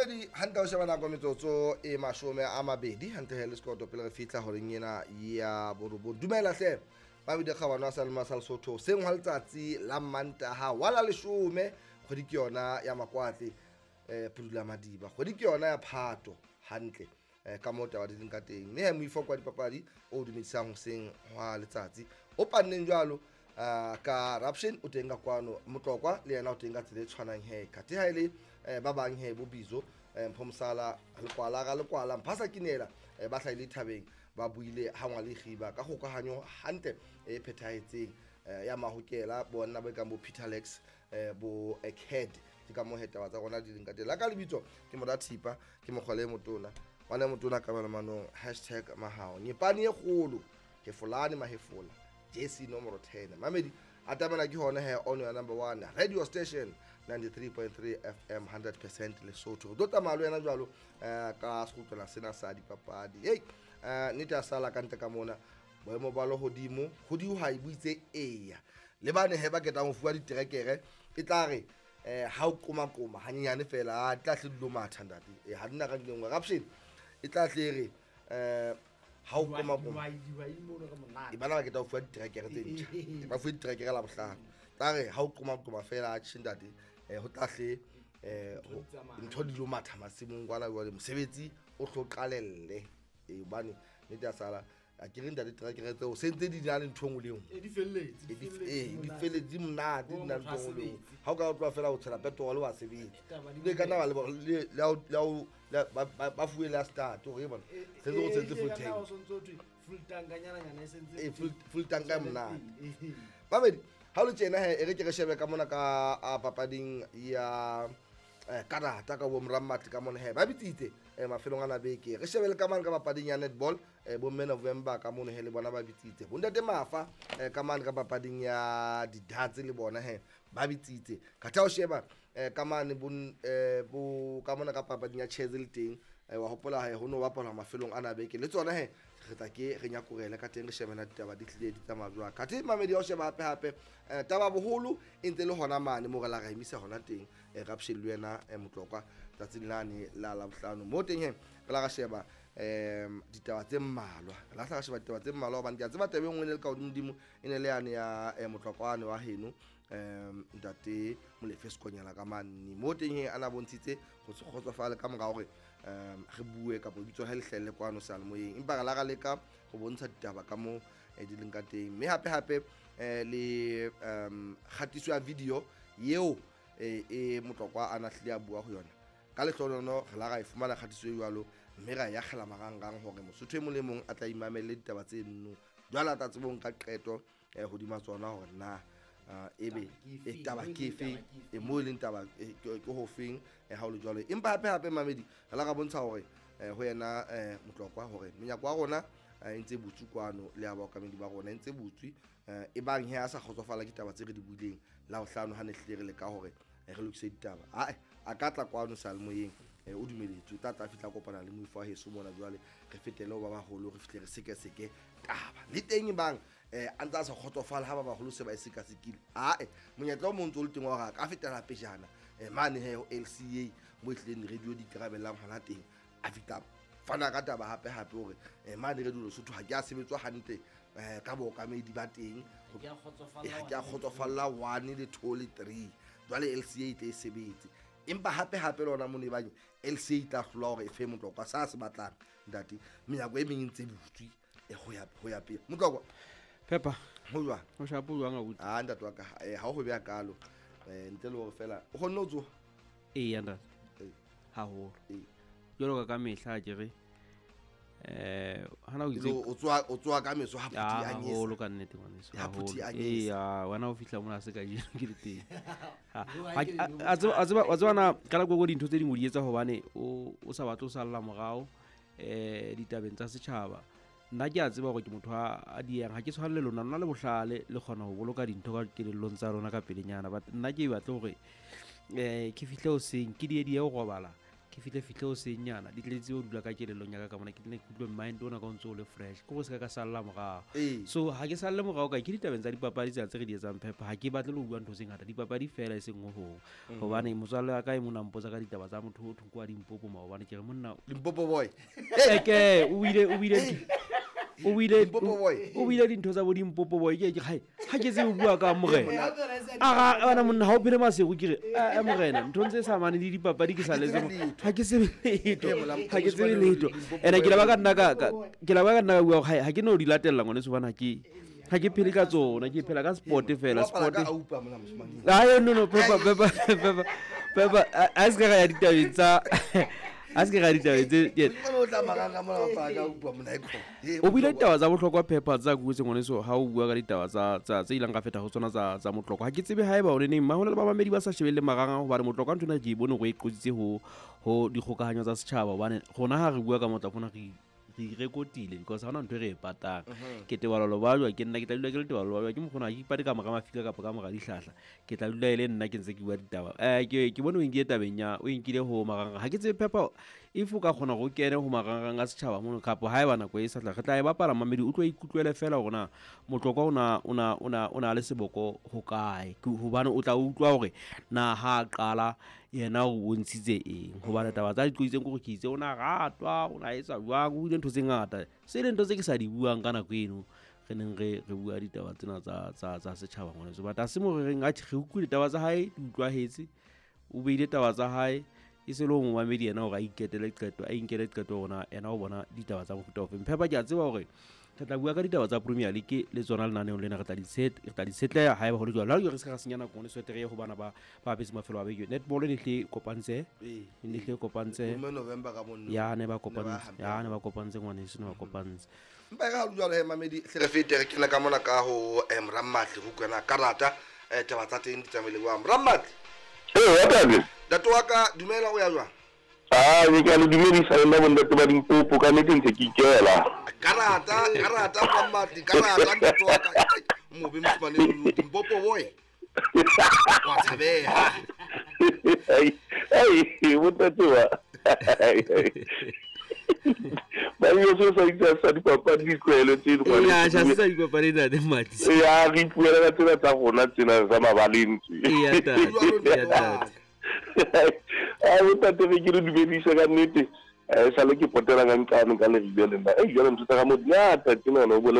Mamedi hantle o sheba nako metsotso e 20 hantle he le sekoto pele re fihla horeng ena ya borobong. Dumela hle Mamedi Kgabano a sa le masa Lesotho seng hwa letsatsi la Mantaha wa la 10 kgwedi ke yona ya Makwatle Pudula Madiba kgwedi ke yona ya Phato hantle ka moo taba di leng ka teng mme he moifo kwa dipapadi o dumedisang hoseng hwa letsatsi o panneng jwalo ka Raption o teng ka kwano Motlokwa le yena o teng ka tsela e tshwanang he khathe ha ile ba bang he bo Bizo Mphomsala Lekwala ga Lekwala Mphasa Kinela ba hlahile thabeng ba buile ha ngwa le khiba ka kgokahanyo hantle e phethahetseng ya mahokela bona ba kang bo Peter Lex bo Ekhead ke ka moo he taba tsa rona di leng ka teng la ka lebitso ke mora Thipa ke mokgwale motona ngwana motona ka manong hashtag mahao nyepane e kgolo hefolane mahefola JC nomoro 10 Mamedi atamela ke hona he on your number 1 radio station 93.3 FM 100% Lesotho do tsamaya le wena jwalo ka sekgutlwana sena sa dipapadi hey nnete a sala ka ntle ka mona boemo ba lehodimo ho dihwai bo itse eya le bane he ba ketang ho fuwa diterekere e tla re ha o koma hanyenyane fela a tla hle dilo matha ntate ha dina ka dingwe raption e tla hle re ha o koma e bana ba ketang ho fuwa diterekere tse ntjha ba fuwe diterekere la bohlano tla re ha o koma fela a tjhe ntate ho tla hle ntho dilo matha masimong kwana jwale mosebetsi o hlo qalelle hobane nnete ya sala a ke re ntate terekere tseo se ntse di na le ntho engwe le engwe di felletse di monate di na le ntho engwe le engwe ha o ka tloha fela o tshela petrol wa sebetsa le ka nna le ba fuwe la start hore bona se ntse o tshetse full tank full tank nyana e sentse full tank e monate babedi ha lo tjena he e re ke re shebe ka mona ka papading ya karata ka bo Morammatli ka mona he ba bitsitse mafelong ana beke re shebele ka mane ka papading ya netball bo mme November ka mono he le bona ba bitsitse bontate Mafa ka mane ka papading ya didatse le bona he ba bitsitse ka tha o sheba ka mane bo ka mona ka papading ya chess le teng wa hopola he ho no bapalwa mafelong ana beke le tsona he re tla ke re nyakorele ka teng re shebena ditaba di tlile di tsamaya jwang kathe Mamedi ya o sheba hape hape taba boholo e ntse le hona mane mo re la re emisa hona teng Raption le wena Motlokwa tsatsing lane la Labohlano mo teng he re la ra sheba ditaba tse mmalwa re la ra sheba ditaba tse mmalwa hobane ke a tseba taba e nngwe ne le ka hodimodimo e ne le yane ya Motlokwane wa heno ntate Molefe Sekonyela ka manne mo teng he ana bontshitse go se kgotsofale ka mora hore re bue kapa bitso ha le hlelle kwano seyalemoyeng empa re la ra leka go bontsha ditaba ka mo di leng ka teng mme hape hape le kgatiso ya video yeo e Motlokwa a na hlile a bua ho yona ka lehlohono re la ra e fumana kgatiso e jwalo mme ra e akgela marangrang hore Mosotho e mong le mong a tla imamelle ditaba tse nno jwale a tla tsebe ho nka qeto hodima tsona hore na ebe taba ke efe e mo e leng taba ke ho feng ha o le jwalo empa hape hape Mamedi re la ra bontsha hore ho yena Motlokwa hore menyako wa rona e ntse butswe kwano le ya baokamedi ba rona e ntse butswe e bang he a sa kgotsofala ke taba tse re di buileng la bohlano ha ne hlile re leka hore re lokise ditaba ae a ka tla kwano seyalemoyeng o dumeletswe o tla tla fihla kopana le moifo wa heso mona jwale re fetele ho ba baholo re fihle re sekeseke taba le teng bang a ntse a sa kgotsofala ha ba baholo se ba e sekasekile ae monyetla o mong ntse o le teng wa hore a ka fetela pejana mane he ho LCA mo e hlileng radio di ikarabellang hona teng a fihla fana ka taba hape hape hore mane radio Lesotho ha ke a sebetswa hantle ka bookamedi ba teng ha ke a kgotsofalla 1 le 2 le 3 jwale LCA e tle e sebetse empa hape hape le ona mone e bang LCA e tla hlola hore e fe Motlokwa sa se batlang ntate menyako e meng e ntse butswe ho ya pele Motlokwa Peppa ho jwang ho shapo jwang abuti a ntate wa ka ha o ho beha kalo ntle le hore fela o kgonne ho tsoha eya ntate haholo jwalo ka mehla ke re hana o itse o tsoa ka meso ha phuthi a nyesa haholo ka nnete ngwaneso ha phuthi a nyesa eya wena o fihla mona se ka jeno ke le teng a tseba na ka nako dintho tse dingwe di etsa hobane o sa batle o salla morao ditabeng tsa setjhaba nna ke a tseba hore ke motho a diang ha ke tshwane le lona lona le bohlale le kgona ho boloka dintho ka kelellong tsa lona ka pelenyana but nna ke batle hore ke fihle hoseng ke die ho robala ke Ke fihle o senyana di tletse o dula ka kelellong ya ka ka mona ke tle ke utlwe mind ona ka o ntse o le fresh ke go se ka ka salla morao. So ha ke salle morao ka ke ditabeng tsa dipapadi tsena tse re di etsang Pepper, ha ke batle le ho bua ntho tse ngata, dipapadi fela e seng ho hong. Hobane motswalle wa ka e mona mpotsa ka ditaba tsa motho o thong kwa Limpopo maobane, ke re monna Limpopo boy. Eke o ile Limpopo boy. O buile dintho tsa bo Limpopo boy, ke ke ha ke tsebe ho bua ka morena. A ga bana monna ha o phele masego, ke re a morena ntho tse sa mane le dipapadi ke sa letse ha ke tsebe letho, ha ke tsebe letho. Ene ke la ba ka nna ke la ba ka nna ka bua ha ke no di latella ngwane so bana ke ha ke phele ka tsona, ke phela ka sport fela, sport. Ai no no Pepper a se ka ya ditabeng tsa a se ke ga ditabeng tse o buile ditaba tsa bohlokwa Pepper tsa kuetse ngwaneso ha o bua ka ditaba tsa tse ileng ka feta ho tsona tsa Motlokwa. Ha ke tsebe haeba o neneng mahona le bamamedi ba sa shebelle marang hobane Motlokwa ntho ena ke e bone hore e qotsitse ho dikgokahanyo tsa setjhaba, hobane rona ha re bua ka Motlokwa rona re rekotile because ha hona ntho e re e patang. Ke Teballo Bajwa, ke nna ke tla dula ke le Teballo Bajwa, ke mokgona ha ke ipate ka mora mafika kapa ka mora dihlahla, ke tla dula e le nna ke ntse ke bua ditaba. Ke bone o inkile tabeng ya o inkile ho marangrang, ha ke tsebe Pepper if o ka kgona go kene ho marangrang a setjhaba mono kapa haeba nako e sa tla re tla e bapala mamedi o tlo ikutlwele fela hore na Motlokwa o na le seboko ho kae, hobane o tla utlwa hore na ha qala yena o bontshitse eng, hobane taba tsa diqoitseng ke hore ke itse o na ratwa, o na etsa jwang, o buile ntho tse ngata se le ntho tse ke sa di buang ka nako eno re neng re bua ditaba tsena tsa setjhaba ngwaneso. But ha se mo re reng atjhe re utlwile taba tsa hae di utlwahetse, o beile taba tsa hae e se le ho momamedi yena hore a iketele qeto, a inkele qeto hore yena o bona ditaba tsa mofuta ofeng. Pepper ke a tseba hore re tla bua ka ditaba tsa Premier League le tsona lenaneong lena, re tla di tshetleha haeba ho le jwalo. Ha re se ka senya nako ngwaneso re ye ho bana ba apetse mafelo a beke. Netball e ne kopantse, e ne kopantse ya ne ba kopantse, ya ne ba kopantse ngwaneso, ne ba kopantse. Mpa re ha jwalo he mamedi hle re fete re kena ka mona ka ho Rammatli ho kwena karata taba tsa teng di tsamaile jwang Rammatli? Wa Ntate wa ka dumela, o ya jwang? Ah, ke a le dumedisa le nna bontate ba Limpopo, ka nnete ntse ke ikela. Karata Rammatli, karata ntate wa ka. Mobe mosimane Limpopo boy. Wa tshabeha. Ai, bontate wa. Ba yo so sa itse sa dipapadi ditlwaelo tse di ngwane. Ya, sa dipapadi ntate Matsi. Ya, re ipuela ka tsena tsa rona tsena tsa mabaleng tse. Ya tate. A bontate re ke le dumedise ka nnete. Sale ke potela ka nqane ka leribe le nna. Jwale ntho tsa ka mo di ngata tjena o bole